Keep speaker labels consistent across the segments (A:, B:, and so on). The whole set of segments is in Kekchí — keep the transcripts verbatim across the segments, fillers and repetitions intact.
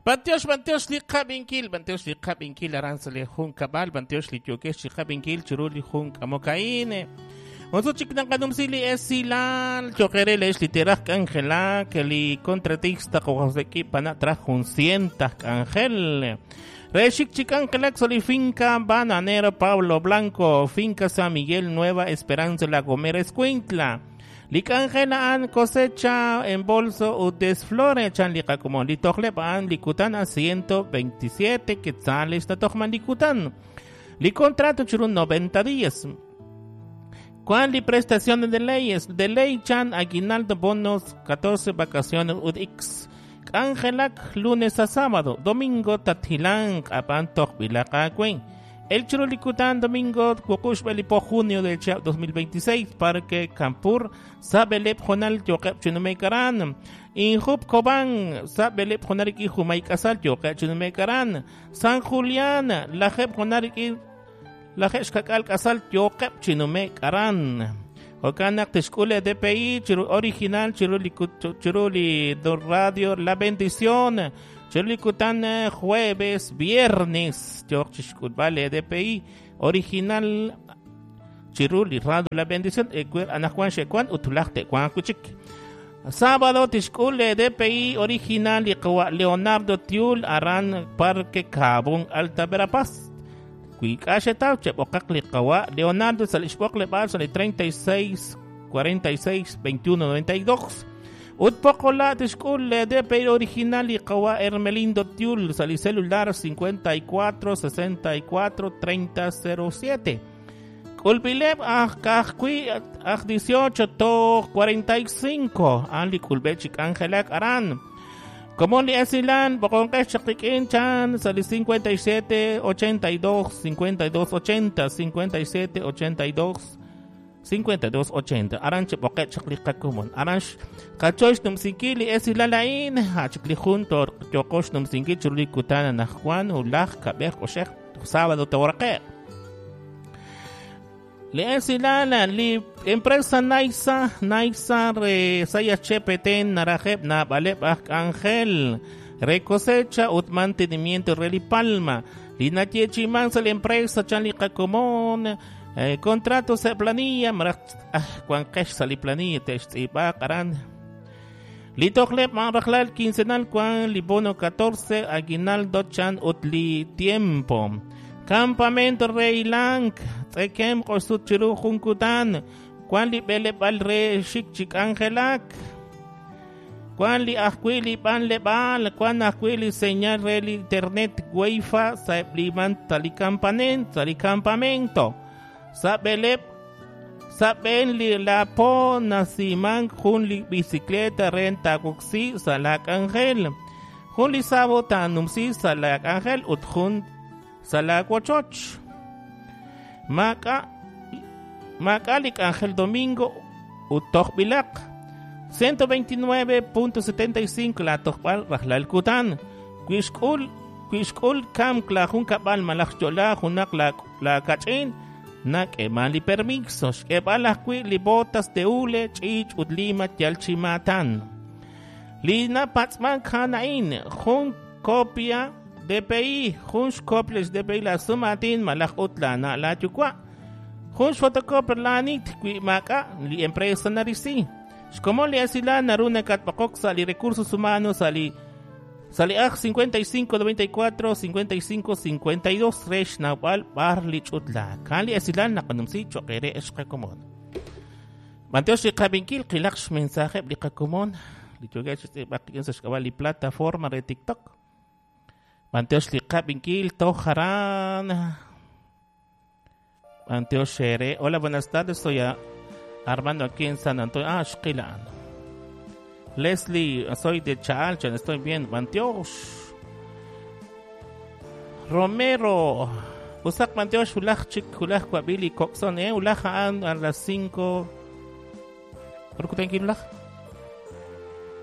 A: Bantiox, bantiox li qabinkil, bantiox li qabinkil aran sa li jun kabal, bantiox li yokex li qabinkil chiru li jun kamokaine. Onso chik naqanumsi li esilal, choqere lex li teraj k'anjelak, li contratista qojoseki pana traj jun cientaj k'anjel. Rexik chik k'anjelak sa li finca Bananero Pablo Blanco, finca San Miguel Nueva Esperanza La Gomera Escuintla. Li k'anjel a'an cosecha en bolso ut desflore chan li qakomon. Li tojleb a'an li kutan a ciento veintisiete quetzales natojman li kutan. Li contrato chiru noventa días. ¿Cuál li prestaciones de leyes? De ley chan aguinaldo bonos catorce vacaciones ud x. K'anjelak lunes a sábado, domingo tathilang apan tojbilaqakuen. El Churulikutan domingo wuqux belipo junio del dos mil veintiséis Parque Campur Sabelep Jonal Yoqep Chunumekaran Injup Koban Sabelep Jonariki Jumaikasal Yoqep Chunumekaran San Julián Lajep Jonariki Lajep Xkakal Kasal Yoqep Chunumekaran Okanak Tishkule D P I Chiru original Chirulikut Chiruli do Radio La Bendición Chirulikutan jueves, viernes, vale D P I original Chiruli Radio La Bendición, Anajuan Xekuan, Utulajte, Juan Kuchik. Sábado Tishkule D P I original Leonardo Tiul Aran Parque Cabón Alta Verapaz. Kuikashetaw Chepokakli Kawa Leonardo Salishpokle Balson treinta y seis cuarenta y seis veintiuno noventa y dos. Utpokola Tishkule D P I original y Kawa Hermelindo Tiul sali celular cincuenta y cuatro sesenta y cuatro treinta cero siete. Kulbileb ah ah dieciocho to cuarenta y cinco Ali Kulbechik Angelak Aran. Como li esilan bokonkesh chakikin chan sali cincuenta y siete ochenta y dos cincuenta y dos ochenta cincuenta y siete ochenta y dos cincuenta y dos ochenta aranche boket chakliqakumon aranch kachosh numsinkili esilalain hachikli junto yokosh numsinki churlikutana najuan ulaj kabej oshej sábado teoraqe le esilala li empresa Naisa Naisa re saya chepeten narajeb na baleb angel recosecha ut mantenimiento reli palma linatiechiman sa la empresa chanliqakumon. Eh, contrato se planilla, ah, cuan kesh sali planilla, te karan. Litoklep manrajlal quincenal cuan libono catorce, aguinaldo chan utli tiempo. Campamento Reilank, tsekem kosut chiru junkutan, cuan li belep al re shik chik angelak. Cuan li ajquili pan lebal, cuan ajquili señal rel internet wifi, saebliman tali campamento. Sabelep saben li lapo nasiman jun li bicicleta renta kuksi salak angel jun li sabo tanumsi salak angel ut jun salak wachoch maka maka lik angel domingo ut tojbilak ciento veintinueve punto setenta y cinco la tojbal rajlal kutan kuishkul kuishkul kam kla jun kabal malaj yola junak la la kachin nak emali permiso xkeb'alajwi li botas de hule ch'ich ut lima yalchimatan lina patzman kanain jun copia D P I jun xcopia D P I la sumatin malaj utlana la yukwa jun fotocopia lanit kwi maka li empresa narisi xkomo li asila naruna katpakok li recursos humanos ali Saliaj cincuenta y cinco noventa y cuatro cincuenta y cinco cincuenta y dos resh nawal barli chutla kali asilan naqanumsi choqere eshqakumon Manteosh liqabinkil qilaqsh mensaje liqakumon lichugach baqin sashkabali plataforma de TikTok Manteosh liqabinkil tojaran Manteosh shere. Hola, buenas tardes, soy Armando aquí en San Antonio. Ah, xqilan Leslie, soy de Chalchan, estoy bien. Manteosh Romero Usak Manteosh ulaj chik ulaj kwabili kokson eh ulaj an a las cinco. ¿Por qué tengo ulaj?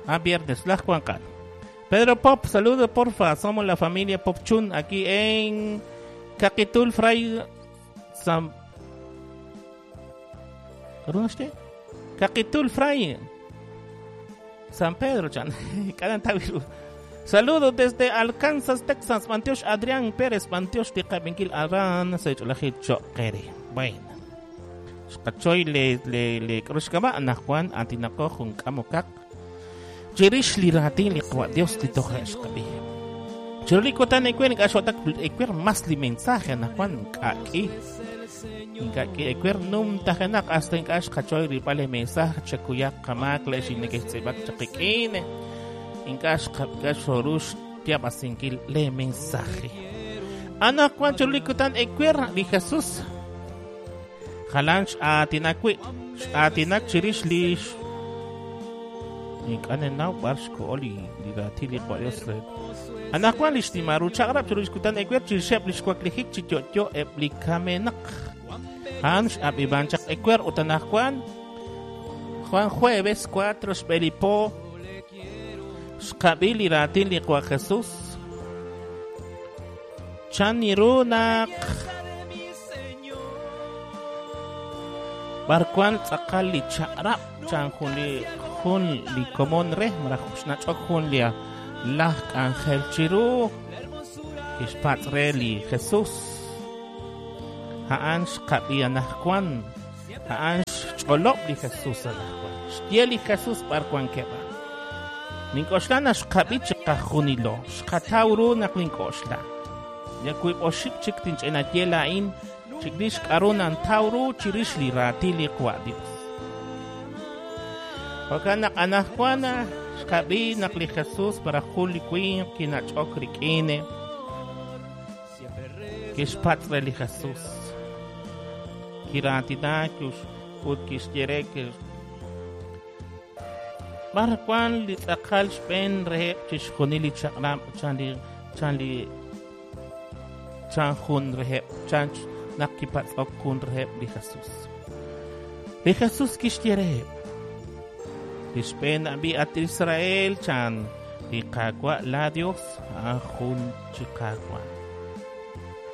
A: Ah, viernes, ulaj kuankan. Pedro Pop, saludo porfa, somos la familia Popchun aquí en Caquitul Fray San ¿Runaste? Caquitul Fray San Pedro, chan. Saludos desde Arkansas, Texas. Bantiox Adrián Pérez, bantiox li qabinkil aran sa ch'olajil cho'qere. Bueno. Xqachoy le le le k'aru anaqwan atinaqo jun k'amokaq chirix li raatin li Qawa' Dios li toja' xqab'i. Chiru li kutan ewer ink'a' xo'tak ewer mas li mensaje anaqwan ink'a' k'i. Ink'a' k'i ewer numtajenaq hasta ink'a' xqachoy rib'al li mensaje chakuyaq qamaak le'x inekextz'ib'ak chaqik'in. Ink'a' xqab'a xorux tiab'asinkil le mensaje. Anaqwan chiru li kutan ewer li Jesús jalan x'aatinak wi' x'aatinak chirix li ink'a' nenaw b'ar xko'o li li raatin li Qawa' Dios re. Anaqwan li xnimal ru chaq'rab' chiru li xkutan ewer chirixeb' li xwaklijik chi yo'yo eb' li kamenaq. A'an x'ab'ib'an chaq ewer ut anaqwan Juan jueves cuatro xb'e li po xqab'i li raatin li Qawa' Jesús. Chan ru naq b'ar wan tz'aqal li chaq'rab' chan jun li jun li komon re maraj xnach'ok jun li laj k'anjel chiru kixpatz' re li Jesús. A'an xqab'i anaqwan, a'an xch'olob' li Jesús anaqwan. Xye li Jesús b'ar wankeb' a'an. Nink'oxla naq xqab'i chiqajunilo, xqataw ru naq nink'oxla. Ya wiib' oxib' chik tinch'inaye laa'in chirix k'aru nantaw ru chirix li raatin li Qawa' Dios. Jo'kan naq anaqwan xqab'i naq li Jesús para jun li winq kinach'ok rik'in kixpatz' re li Jesús. Kiraatinak ut kixye re b'ar wan li tz'aqal xb'een reheb' chixjunil li chaq'rab' chan li chan li chan jun reheb' chan naq kipatz'ok jun reheb' li Jesús. Li Jesús kixye reheb' li xb'een ab'i at Israel chan li Qaawa' la Dios a'an jun chi Qaawa'.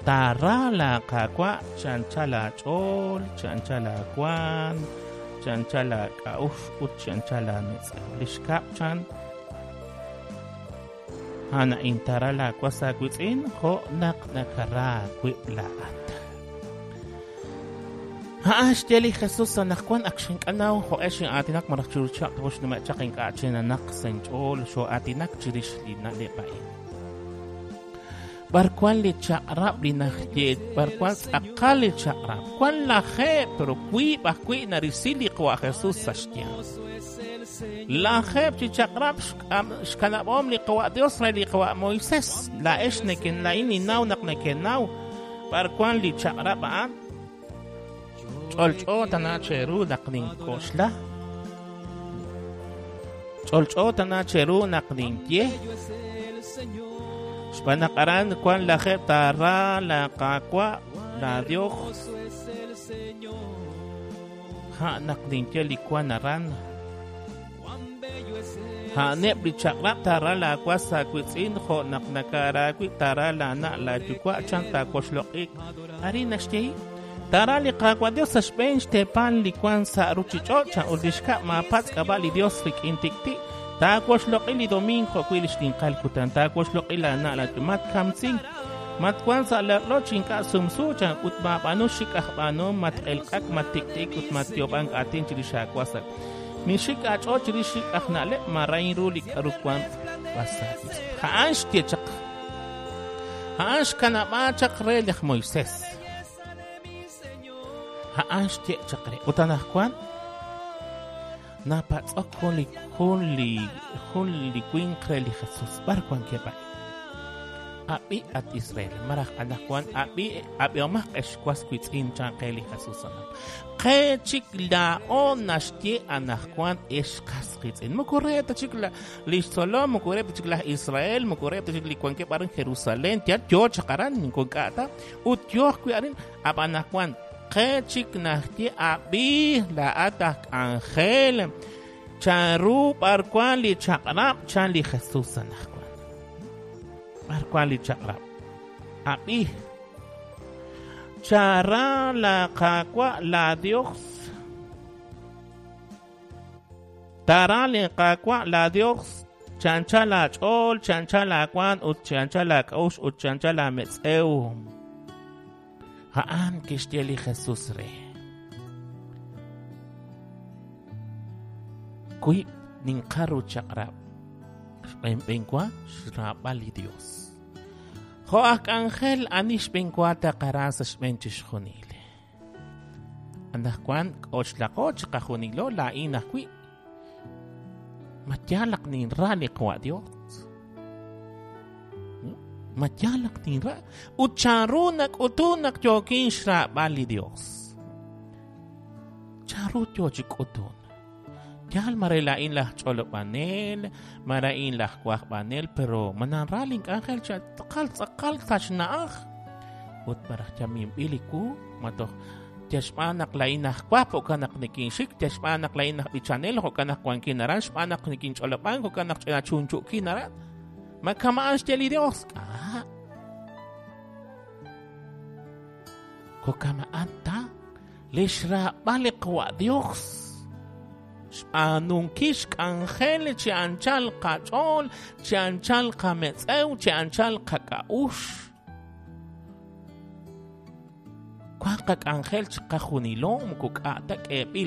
A: Taara la Qaawa' chancha laach'ool, chancha laawank, chancha laak'a'uxl ut chancha laametz'ew. Li xkab' chan a'an a'in taara laawas aawitz'in jo' naq nakara aawib' laa'at. A'an xye li Jesús anaqwan ak xink'anaw jo'ex xin'aatinak maraj chiru chaq xnume' chaq ink'a' chinanaq sa' inch'ool xo'aatinak chirix li na'leb' a'in. B'ar wan li chaq'rab' li naxye b'ar wan tz'aqal li chaq'rab' wan lajeeb' pero wiib' ajwi' narisi li Qawa' Jesús sa' xyanq. Lajeeb' chi chaq'rab' xkanab'om li Qawa' Dios re li Qawa' Moisés. Laa'ex neken laa'in ninnaw naq nekenaw b'ar wan li chaq'rab' a'an. Ch'olch'o tana cheru naq nink'oxla. Ch'olch'o tana cheru naq ninye. Xb'aan naq aran wan lajeeb' taara la Qaawa' la Dios. Ja' naq ninye li wan aran. A'aneb' li chaq'rab' taara laawas aawitz'in jo' naq nakara aawib' taara laana' laayuwa' chan taawoxloq'i. Arin naxye taara li Qaawa' Dios sa' xb'een xteepal li wan sa' ruchich'och' chan ut li xkab' maapatz' k'ab'a' li Dios rik'in tik'ti'. Taawoxloq'i li domingo jo'wi' li xninqal kutan, taawoxloq'i laana' laayuwa' matkamsink, matwan sa' la'loch ink'a' sumsu chan ut maab'aanu xik' aj b'aanuhom, mat'elq'ak, mattik'ti'ik ut matyoob'ank aatin chirix aawas. Mixik aach'ool chirix xik' aj na'leb' marayin ru li k'aru wan b'asaawis. A'an xye chaq, a'an xkanab'a chaq re laj Moisés. A'an xye chaq re ut anaqwan napatz'ok jun li jun li jun li winq re li Jesús b'ar wankeb' a'in. Ab'i at Israel maraj anaqwan ab'i ab'ihomaq ex was witz'in chan qe li Jesús anaq. Qe chik laa'o naxye anaqwan ex qas qitz'in. Moko re ta chik la li xtzolom, moko re ta chik laj Israel, moko re ta chik li wankeb' aran Jerusalén, yal yo chaq aran ink'a' ta ut yo ajwi' arin ab'an anaqwan qe chik naxye ab'i laa'at aj k'anjel chan ru b'ar wan li chaq'rab' chan li Jesús anaqwan. B'ar wan li chaq'rab' ab'i chara la Qaawa' la Dios tara li Qaawa' la Dios Chi anchal aach'ool, chi anchal aawaanm ut chi anchal aak'a'uxl ut chi anchal aametz'ew. A'an kixye li Jesus re. Wiib' ninqal ru chaq'rab'. Xb'eenb'enwa xraab'al li Dios. Jo' aj k'anjel ani xb'eenwa taqara sa' xb'een chixjunil. Anaqwan k'oxlaqo chiqajunilo laa'in ajwi'. Ma yaal naq ninra li Qawa' Dios? Ma yaal naq ninra? Ut chanru nak'utun naq yookin xraab'al li Dios? Chanru yo chi k'utun? Yaal mare laa'in laj ch'olob'anel, mare a'in laj wajb'anel, pero ma nanra link'anjel chi tz'aqal tz'aqal sa' xna'aj. Ut maraj yaminb'il li wu, ma toj yal xb'aan naq laa'in aj wajb', jo'kan naq nikinxik, yal xb'aan naq laa'in aj b'ichanel, jo'kan naq wankin aran, xb'aan naq nikinch'olob'an, jo'kan naq ch'ina chunchu'kin aran. Ma kama'an xye li Dios? Ah. Jo'kama'an ta li xraab'al li Qawa' Dios. Xb'aanunkil xk'anjel chi anchal qach'ool, chi anchal qametz'ew, chi anchal qak'a'uxl. Wan qak'anjel chiqajunilo moko k'a' ta k'eeb'il